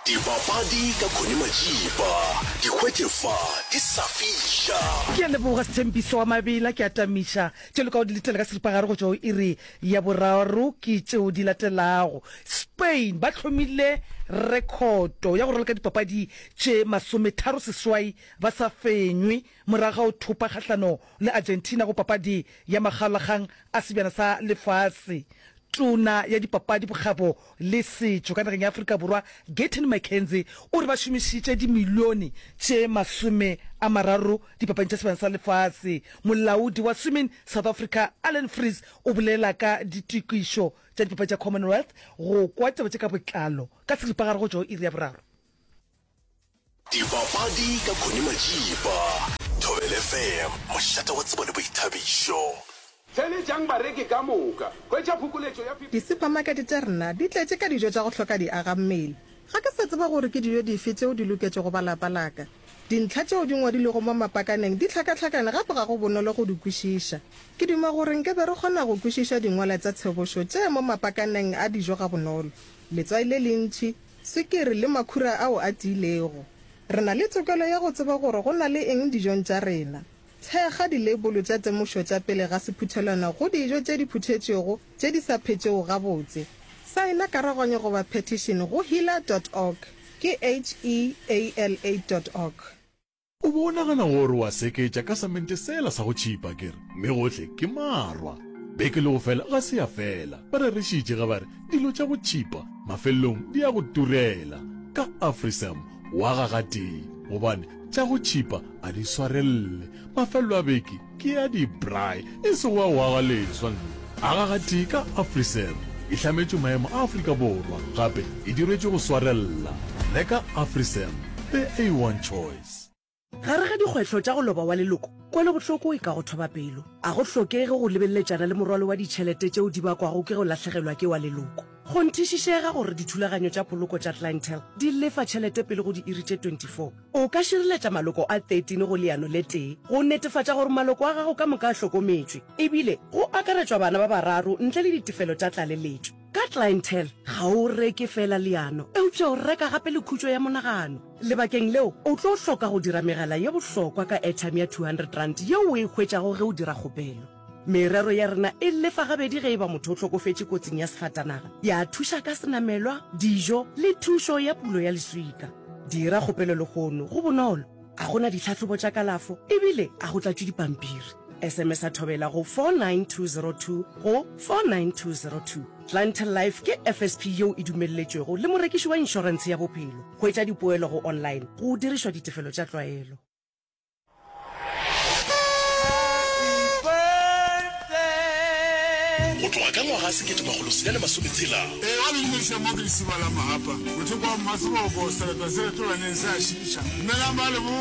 Dipapadi ka Connie Majiba, di hwetše fa di sa fiša. Ke a leboga Sthembiso wa Mabela, ke a tamiša tše lokago di letela ka seripagare go tšwa go iri ya boraro ke tšeo di latelago. Spain ba hlomile rekhoto ya go raloka dipapadi tše masometharoseswai ba sa fenywe morago ga go thopa kgahlano le Argentina go papadi ya makgaolakgang a sebjana sa lefase. Tona ya Dipapadi, Bokgabo le Setšo ka nageng ya Afrika Borwa, Gayton McKenzie, o re ba šomišitše dimilione tše 30 dipapading tša Sebjana sa Lefase. Molaodi wa Swimming South Africa, Allan Freese, o bolela ka ditokišo tša dipapadi tša Commonwealth go kwa taba tše ka botlalo ka seripagare go tšwa go iri ya boraro. Dipapadi ka Connie Majiba, Thobela FM, mošate wa tsebo le boithabišo. Theeletšang bareki ka moka. Hwetša phokoletšo ya 50. Disuphamakete tša rena di tletše ka dijo tša go hloka diagammele. Ga ke sa tseba gore ke dijo dife tšeo di loketšego ba lapa la ka. Dintlha tšeo di ngwadilwego mo mapakaneng di hlakahlakane gape ga go bonolo go di kwešiša. Ke duma gore nke be re kgona go kwešiša dingwalwa tša tshebošo tše mo mapakaneng a dijo gabonolo. Letswai le lentši, swikiri le makhura ao a tiilego. Re na le tokelo ya go tseba gore go na le eng dijong tša rena. Thekga dileibolo tša temošo tša pele ga sephuthelwana go dijo tše di phuthetšwego tše di sa phetšego gabotse. Saena karoganyo goba petition go heala dot org, ke H-E-A-L-A dot org. O be o nagana gore o a seketša ka samente sela sa go tšhipa akere? Mme gohle ke marwa. Beke le go fela ga se ya fela. Ba rerešitše ge ba re dilo tša go tšhipa mafelelong di a go turela. Ka AfriSam o aga gatee gobane tša go tšhipa a di swarelele. Mafelelo a beke ke a di-braai e sego a go aga leswa. Nna aga gatee ka AfriSam. E hlametšwe maemo a Afrika Borwa gape e diretšwe go swarella. Reka AfriSam, the A1 choice. Gare ga dikgwetlho tša go loba wa leloko, kwelobohloko e ka go thoba pelo. A go hlokege go lebeleletšana le morwalo wa ditšhelete tšeo di bakwago ke go lahlegelwa ke wa leloko. Kgonthišišega gore dithulaganyo tša poloko tša Clientele di lefa tšhelete pele go diiri tše 24. O ka šireletša maloko a 13 go leano le tee go netefatša gore maloko a gago ka moka a hlokometšwe, ebile go akaretšwa bana ba bararo ntle le ditefelo tša tlaleletšo. Ka Clientele, ga o reke feela leano, eupša o reka gape le khutšo ya monagano. Lebakeng leo, o tlo hloka go dira megala ye bohlokwa ka airtime ya R200 yeo o e hwetšago ge o dira kgopelo. Merero ya rena e lefa gabedi ge e ba motho o hlokofetše kotsing ya sefatanaga, ya thuša ka senamelwa, dijo le thušo ya pulo ya leswika. Dira kgopelo lehono, go bonolo, a go na ditlhahlobo tša kalafo ebile a go tlatšwe dipampiri. SMS-a Thobela go 49202 go 49202. Clientele Life ke FSP yeo e dumelletšwego le morekiši wa inšorentshe ya bophelo. Hwetša dipoelo go online go dirišwa ditefelo tša tlwaelo. Go tloga ka ngwaga 1660. Ee, ba le dumediša mo ke lesiba la Mahapa, mothoko wa Mmaseboko, sereto se retolwaneng se a šiiša. Dumelang ba leboga.